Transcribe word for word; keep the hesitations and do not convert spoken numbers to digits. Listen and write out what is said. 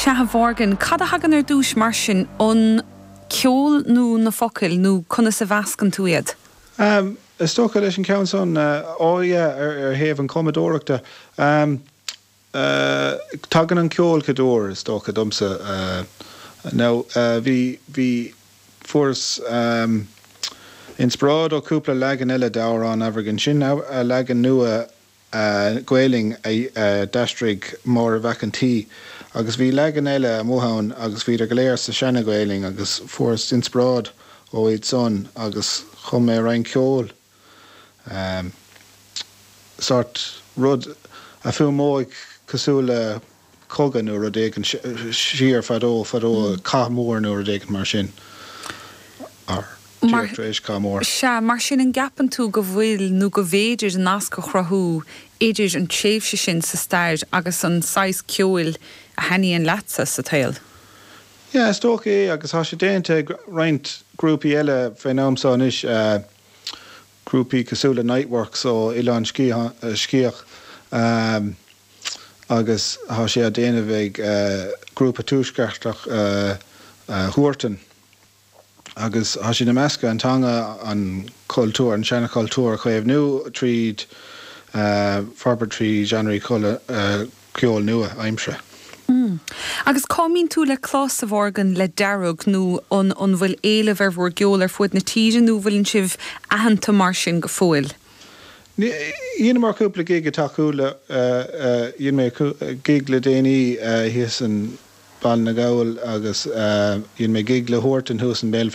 Sea, a Mhorgan, cad a thagann ar dtús mar sin an ceol nó na focail nó conas a mheascann tú iad? Um, is dócha leis an ceann san uh, yeah, ar, ar thaobh an cumadóireachta. Um, uh, tagann an ceol céaduair is dócha domsa uh, now uh, bhí bhí fuaireas um, inspioráid ó cúpla leagan eile d'amhrán Aimhirghin sin a leagan nua uh, Gaeilge a uh, d'aistrigh Máire Mhac an tSaoi agus bhí leagan eile amuigh ann agus bhí go léir sa seana-Ghaeilge agus fuaireas inspioráid ó iad san agus chum mé roinnt ceoil. Um, sort rud a fuaimeoidh cosúil le cogadh nó rud éigin siar fadó fadó mm. cath mór nó rud éigin mar sin. Mar éis cath mór. Sea mar sin an gceapann tú go bhfuil nó go bhféidir nasc a chruthú idir an tréimhse sin sa stair agus an saghas ceoil a thaitníonn leatsa sa tsaol. Ja, is dócha é agus tá sé déanta ag roinnt grúpaí eile fén am seo anois uh, grúpaí cosúil le Niteworks ó Oileán Sciath um, agus tá sé á déanamh ag uh, grúpa tuaisceartach uh, uh, Huartan. Agus tá sé ag meascadh an teanga an cultúr an seanchultúr a chaomhnú tríd uh, forbairt trí genre uh, ceol nua aimsire. Mm. Agus cá mbíonn tú le clos a Mhorgan le Dearg nó an an bhfuil éileamh ar bhur gceol ar fud na tíre nó bhfuil sibh aitheanta mar sin go fóill. Dhéanamar cúpla gig atá le dhein mé gig le déanaí thíos in Baile na nGall agus dhein mé gig le Huartan thuas in Béal